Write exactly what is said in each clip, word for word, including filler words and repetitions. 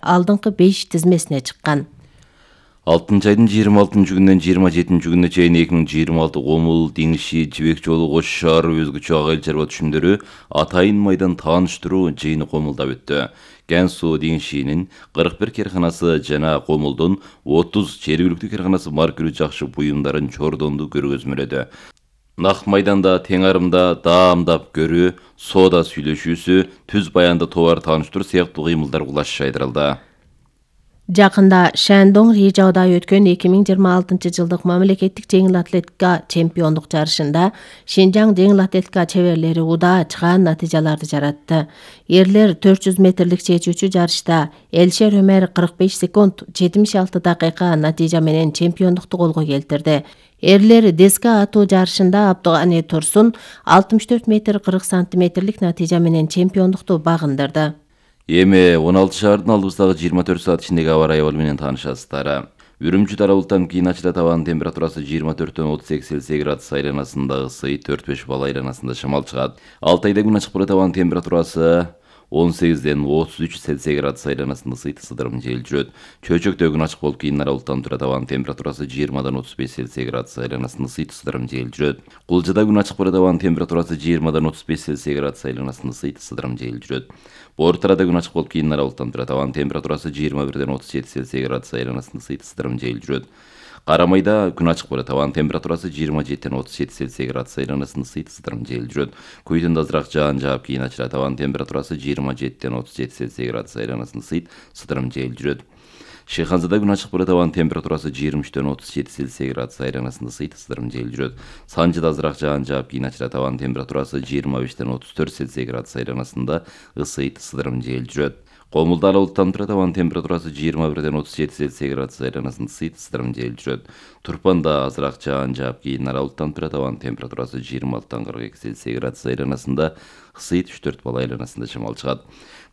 алдыңкы беш тизмесине чыккан. алтынчы айдын жыйырма алтынчы күнүнөн жыйырма жетинчи күнүнө чейин эки миң жыйырма алты Комул, Диңши, Жибек жолу, Кош шаар өзгөчө ак айыл чарба түшүмдөрү атайын майдан тааныштыруу жыйыны Комулда өттү. Кен суу Диңшинин кырк бир керканасы жана Комулдун отуз жергиликтүү керканасы маркүрүү жакшы буюмдарын чордонду көргөзмөлөдү. Нак майданда тең арымда даамдап көрүү, соода сүйлөшүүсү, түз баянда товар тааныштыруу сыяктуу кыймылдар кулаш жайдырылды. Жакында Шандong Рижауда өткөн эки миң жыйырма алтынчы жылдык мамлекеттик жеңил атлетика чемпиондук жарышында Шинжаң жеңил атлетика чеберлери удаа чыгаан натыйжаларды жаратты. Эрлер төрт жүз метрлик чечүүчү жарышта Элшер Өмер кырк беш секунд жетимиш алты дакыйка натыйжа менен чемпиондукту колго келтирди. Эрлер деска атуу жарышында Абдугани Турсун алтымыш төрт метр кырк сантиметрлик натыйжа менен чемпиондукту багындырды. Эми он алты шаардын алдыбыздагы жыйырма төрт саат ичиндеги аба ырайы менен таанышасыздар. Үрүмчү тарабылтан кийин ачылат абанын температурасы жыйырма төрттөн отуз эки Цельсий градус айланасында ысый, төрт беш балл айланасында шамал чыгат. Алтайда күн ачык болот, абанын температурасы он сегизден отуз үч Цельсий градус айланасында ысыйт, ысыдырым жел жүрөт. Чөйчөктө күн ачык болуп кийин аралыктан турат, абанын температурасы жыйырмадан отуз беш Цельсий градус айланасында ысыйт, ысыдырым жел жүрөт. Кулжада күн ачык болот, абанын температурасы жыйырмадан отуз беш Цельсий градус айланасында ысыйт, ысыдырым жел жүрөт. Бортарада күн ачык болуп кийин аралыктан турат, абанын температурасы жыйырма бирден отуз жети Цельсий градус айланасында ысыйт, ысыдырым жел жүрөт. Карамайда күн ачык болот, абанын температурасы жыйырма жетиден отуз жети Цельсий градус айланасында ысыйт, ысыдырым жел жүрөт. Куйдун азыраак жаан жаап кийин ачылат, абанын температурасы жыйырма жетиден отуз жети Цельсий градус айланасында ысыйт, ысыдырым жел жүрөт. Шыйханзада күн ачык болот, абанын температурасы жыйырма үчтөн отуз жети Цельсий градус айланасында ысыйт, ысыдырым жел жүрөт. Санжыда азыраак жаан жаап кийин ачылат, абанын температурасы жыйырма бештен отуз төрт Цельсий градус айланасында ысыйт, ысыдырым жел жүрөт. Комулда аралыктан турат, абанын температурасы жыйырма бирден отуз жети Цельсий градус айланасында ысыйт, ысыдырым жел жүрөт. Турпанда азыраак жаан жаап кийин аралыктан турат, абанын температурасы жыйырма алтыдан кырк эки Цельсий градус айланасында ысыйт, үч төрт балл айланасында шамал чыгат.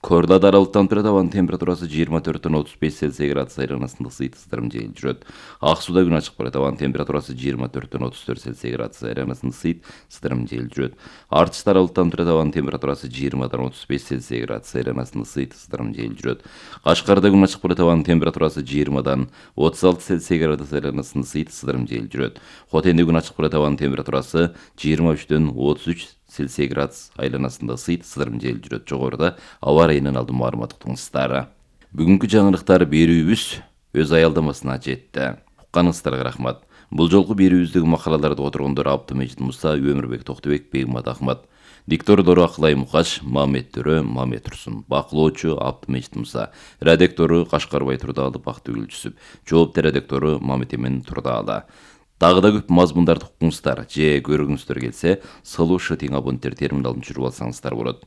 Корлада аралыктан турат, абанын температурасы жыйырма төрттөн отуз беш Цельсий градус айланасында ысыйт, ысыдырым жел жүрөт. Ак сууда күн ачык болот, абанын температурасы жыйырма төрттөн отуз төрт Цельсий градус айланасында ысыйт, ысыдырым жел жүрөт. Артышта аралыктан турат, абанын температурасы жыйырмадан отуз беш Цельсий градус айланасында ысыйт, ысыдырым жел жүрөт. Кашкарда күн ачык болот, абанын температурасы жыйырмадан отуз алты Цельсий градус айланасында ысыйт, ысыдырым жел жүрөт. Хотенде күн ачык болот, абанын температурасы жыйырма үчтөн отуз үч Цельсий градус айланасында ысыйт, ысыдырым жел жүрөт. Жогоруда аба ырайынан алдын маалымат уктуңуздар. Бүгүнкү жаңылыктар берүүбүз өз аялдамасына жетти. Укканыңыздарга рахмат. Бул жолку берүүбүздөгү макалаларды которгондор Абдымежит Муса, Өмүрбек Токтубек, Бегмат Ахмат. Диктордору Акылай Мукаш, Мамет Төрө, Мамет Турсун. Бакылоочу Абдымежит Муса. Редактору Кашкарбай Турдаалы, Бактыгүл Жүсүп. Жоопту редактору Мамет Эмен Турдаалы. Дагы да көп мазмундарды укуңуздар же көргүңүздөр келсе, Сылуу ШТ абоненттер терминалын түшүрүп алсаңыздар болот.